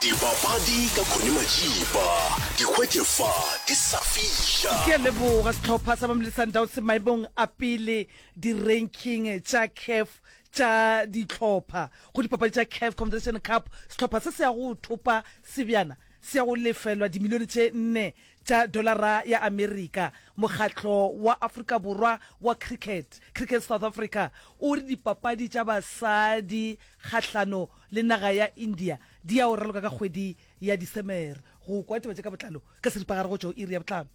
Dipapadi ka Connie Majiba, di hwetše fa di sa fiša. Ke a leboga. Sehlopha sa Mamelodi Sundowns se maemong a pele di-ranking tša CAF tša dihlopha go dipapadi tša CAF Confederation Cup. Sehlopha se se ya go thopa sebjana se ya go lefelwa dimilione tše nne tša dolara ya Amerika. Mokgatlo wa Afrika Borwa wa Cricket, Cricket South Africa, o re dipapadi tša basadi kgahlano le naga ya India di ya go raloka ka kgwedi ya Disemere. Go kwa ditaba tše ka botlalo ka seripagare go tšwa go iri ya bohlano.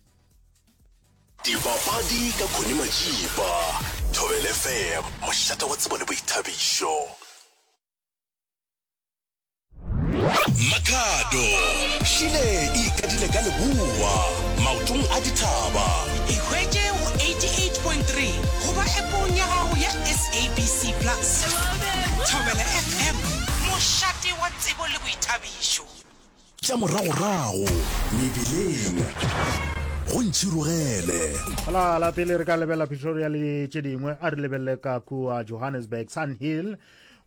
Dipapadi ka Connie Majiba, Thobela FM, mošate wa tsebo le boithabišo. Makhado, Šile e ikadile ka leboa, maotong a dithaba. Ikhwetše go 88.3 goba appong ya gago ya SABC Plus. Thobela FM, mošate wa tsebo le boithabišo. Tša moragorago mebileng go ntšhirogele. La la pele re ka lebelela Pretoria le tše dingwe, a re lebelele ka kua Johannesburg, Sun Hill,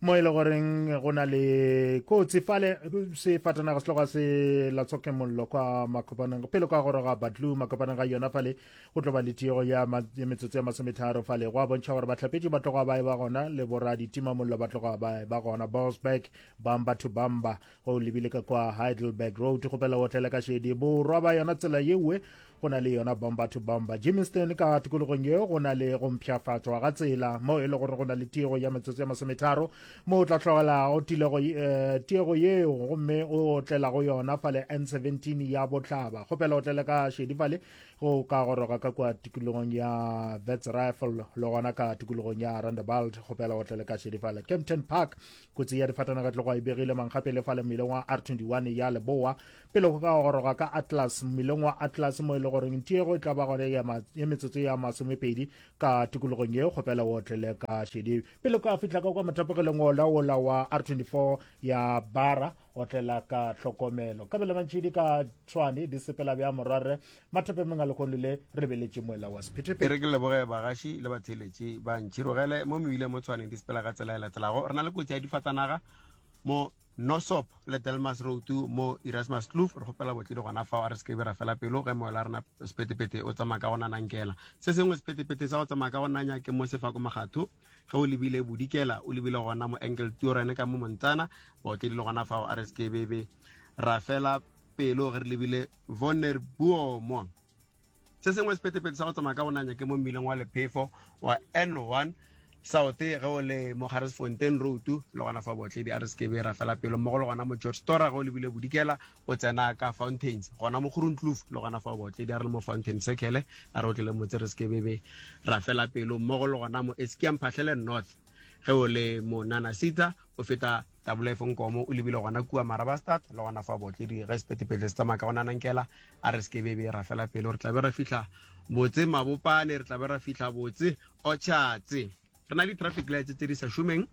mo e le goreng go na le kotsi fale sefatanaga se tloga se latswa mollo kwa makopaneng pele kwa goroga Batlu makopaneng ga yona fale go tlo ba le tiego ya metsotso ya masometharo fale go a bontšha gore bahlapetši ba tloga ba e ba gona le boraditimamollo ba tloga ba e ba gona Boksburg bamba to bamba go lebile ka kwa Heidelberg Road kgopela o tlele ka šedi borwa ba yona tsela yewe go na le yona bomba to bomba Germiston ka tikologong yeo go na le go mpshafatšwa ga tsela mo e le gore go na le tiego ya metsotso ya masometharo mo o tla tlogelago tilego eh, tiego yeo gomme o otlela go yona fale N17 ya bohlaba kgopela o tlele ka šedi fale go ka goroga ka kwa tikologong ya Vets Rifle le gona ka tikologong ya Rondebult kgopela o tlele ka šedi fale Kempton Park Kotsi ya difatanaga tlogo e begile mankgapele fale mmileng wa R21 ya Leboa pele go ka goroga ka Atlas mmileng wa Atlas mo e le goreng tiego e tla ba gone ya metsotso ya masomepedi ka tikologong ye kgopela o otlele ka šedi pele ka fihla ka kwa mothapogeleng ola ola wa R24 ya Bara otlela ka tlhokomelo kabelo mantšhidi ka tshwane di sepela bja morwarre mathapemeng a lekgono le re lebeletše moela wa E sephethephethe re ke leboge bagaši le batheeletši ba Ntšhirogele mo mebileng mo Tshwane di sepela ka tsela e latelago. Re na le kotsi ya difatanaga mo Nosop le Delmas Road mo Erasmus Kloof. Re kgopela botledi gona fao, a re se ke be ra fela pelo ge moela wa rena sephethephethe o tsamaya ka go nanankela. Se sengwe sephethephethe sa go tsamaya ka go nanya ke mo Sefako Makgatho ge o lebile bodikela o lebile gona mo Engeltoren ka mo Montana, baotledi le gona fao a re se ke be be ra fela pelo ge re lebile Wonderboom. Se sengwe sephethephethe sa go tsamaya ka go nanya ke mo mmileng wa lephefo wa N1 South ge o le mo Garesfontein Road le gona fa botledi a re se ke be ra fela pelo mmogo le gona mo George Stora ge o lebile bodikela o tsena ka Fountains gona mo Groenkloof le gona fa botledi a re le mo Fountain Circle a re otlele motse re se ke be be ra fela pelo mmogo le gona mo Eskia Mphahlele North ge o le mo Nanasita o feta Tabula e Nkomo o lebile gona kua Marabastad le gona fa botledi ge sephethephethe se tsamaya ka go nanankela a re se ke bebe ra fela pelo re tla be ra fihla botse Mabopane re tla be ra fihla botse Orchards re na le traffic lights tse di sa šomeng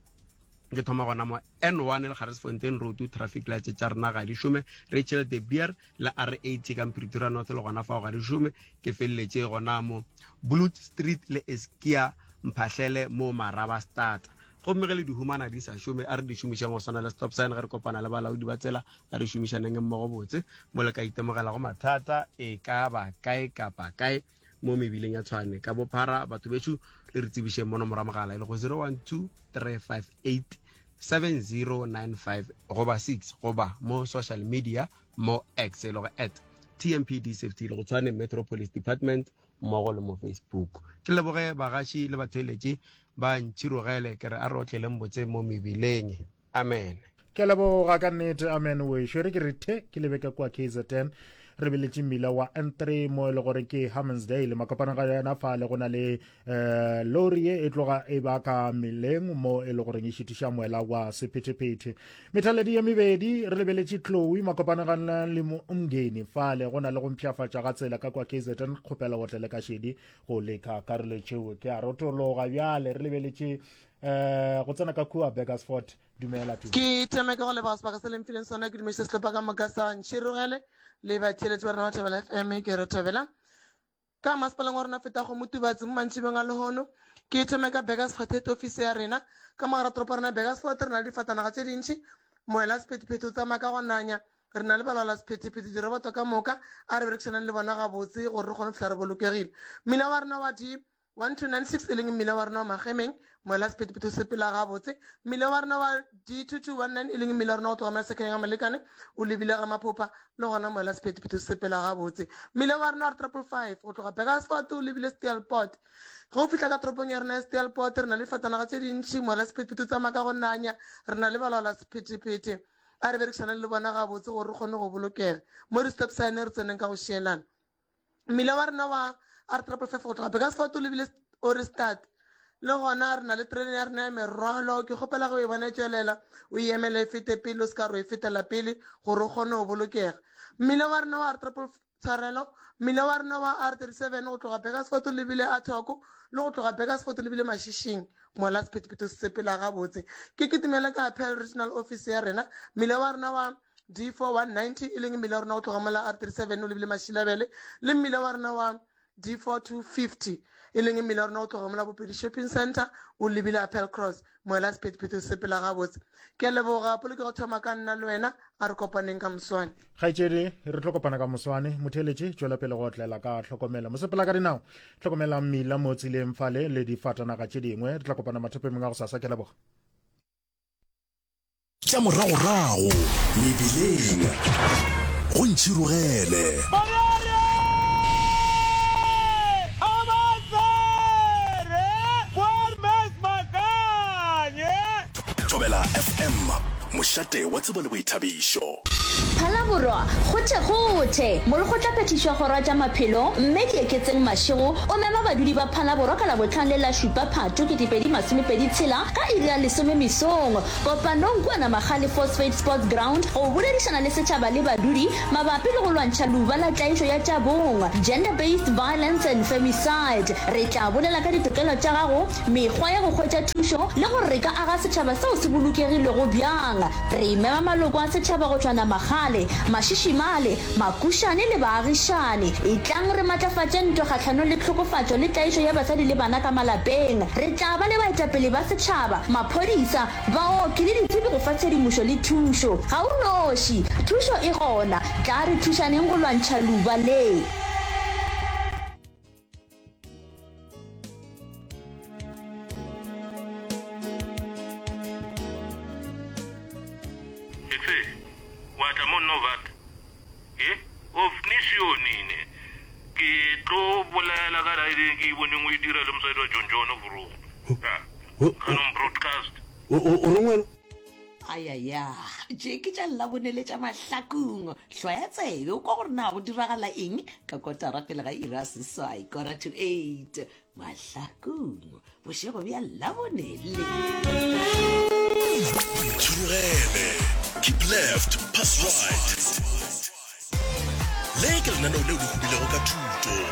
ke thoma gona mo N1 le Garesfontein Road traffic lights tša rena ga di šome Rachel de Beer le R80 ka Pretoria North le gona fao ga di šome ke feleletše gona mo Blood Street le Eskia Mphahlele mo Marabastad Gomme ge le di humana di sa šome, a re di šomišeng go swana le stop sign ge re kopana le balaodi ba tsela, a re šomišaneng mmogo botse mo le ka itemogelago mathata e ka ba kae kapa kae mo mebileng ya Tshwane ka bophara. Batho bešo le re tsebišeng mo nomoro ya mogala e lego 012 358 7095 goba 6 goba mo social media mo X e lego at TMPD Safety le go Tshwane Metro Police Department mmogo le mo Facebook. Ke leboge bagaši le batheeletši Ba ntšhirogele, ke re a re otleleng botse mo mebileng. Amen. Ke a leboga ka nnete. Amen wešo. E re ke re the ke lebe ka kua KZN re beletše mmila wa N3 mo e le gore ke Hammansdale makopana ga yona fale go na le um lori ye e tloga e ba ka meleng mo e le goreng e šitiša moela wa sephethephethe methaledi ye mebedi re lebeletše Chloe makopana ga le Umngeni fale go na le go mpshafatša ga tsela ka kwa KZN kgopela otlele ka šedi go leka karolo tšeo ke a rotologa bjale re lebeletše um go tsena ka kua Burgersfort dumela tu Ke thome ka go leboga sebaka se le mfileng sona ke dumiše sehlopha ka moka sa Ntšhirogele le batheeletši ba rena ba Thobela FM ke re thobela ka masepaleng wa rena feta go Motubatsi mo mantšibeng a lehono ke thome ka Burgersfort head office ya rena ka mogara toropo ya rena Burgersfort re na le difatanaga tše dintši moela sephethephethe o tsamaya ka go nanya. Re na le balaola sephethephethe, diroboto ka moka, a re berekišaneng le bona gabotse gore re kgone go fihla re bolokegile. Mmila wa rena wa D1296 e leng mmila wa rena wa Magemeng, moela sephethephethe o sepela gabotse. Mmila wa rena wa D2219 e leng mmila wa rena wa go tloga Masekeng a Molekane o lebile ga Maphopha, le gona moela sephethephethe o sepela gabotse. Mmila wa rena wa R555 go tloga Burgersfort o lebile Steelpoort. Ge o fihla ka toropong ya rena ya Steelpoort re na le difatanaga tše dintši, moela sephethephethe o tsamaya ka go nanya, re na le balaola sephethephethe. A re berekišaneng le bona gabotse gore re kgone go bolokega. Mo di-stop sign re tseneng ka go šielana. Mmila wa rena wa R 555 go tloga Burgersfort o lebile Ohrigstad. Le gona re na le terene ya rena ya merwalo. Ke kgopela ge o e bona e tšwelela o e emele e fete pele, o se ka re o e fetela pele gore o kgone go bolokega. Mmila wa rena wa R triple Tshwarelo, mmila wa rena wa R37 go tloga Burgersfort o lebile Athoko le go tloga Burgersfort o lebile Mashishing mola sephethephethe se sepela gabotse. Ke kitimele ka Paarl Regional Office ya rena, mmila wa rena wa D4190 e leng mmila wa rena go tloga mola R37 o lebile Mashilabele le mmila wa rena wa D4250 e leng mmila wa rena go tloga mola Bopedi Shopping Centre o lebile Appelcross moela sephethephethe se sepela gabotse. Ke a leboga polokego thoma ka nna le wena a re kopaneng ka moswane. Kgaetšedi, re tlo kopana ka moswane. Motheeletši, tšwela pele go otlela ka tlhokomelo. Mosepela ka dinao, hlokomela mmila mo tseleng fale le difatanaga tše dingwe. Re tla kopana mathopemeng a gosasa. Ke a leboga. Tša moragorago mebileng go ntšhirogele. Thobela FM, mošate wa tsebo le boithabišo. Phalaborwa, Kgothekgothe! Molekgotlaphethiši wa Kgoro ya tša Maphelo, Mme Dieketseng Mashego, o mema badudi ba Phalaborwa ka Labohlano le la šupa Phatho 2026 ka iri ya lesome mesong kopanong kua Namagale Phosphate Sports Ground go boledišana le setšhaba le badudi mabapi le go lwantšha leuba la tlaišo ya tša bong, Gender Based Violence and Femicide. Re tla bolela ka ditokelo tša gago, mekgwa ya go hwetša thušo le gore re ka aga setšhaba seo se bolokegilego bjang. Re mema maloko a setšhaba go tšwa Namagale, Mašišimale, Makušane le baagišani. Etlang re matlafatše ntwa kgahlanong le tlhokofatšo le tlaišo ya basadi le bana ka malapeng. Re tla ba le baetapele ba setšhaba, maphodisa, baoki le ditsebi go fa tshedimošo le thušo. Ga o noši, thušo e gona. Tlaa re thušaneng go lwantšha leuba le. Etse, wa tla mo nna o bata. E, o fnisio nine. Ke tlo bolela ka raedeng ke e boneng o e dira le mosadi wa John John Vrogo. Ya, Canon Broadcast. O o reng wena? Ayaya, tše ke tša Labone le tša Mahlakong. Hlwaya tsebe o kwa gore na go diragala eng ka kotara pele ga iri ya seswai, quarter to eight. Mahlakong, bošego bja Labone le. Tšhurugele, keep left, pass right. Le ke lenaneo leo le hubilego ka thuto.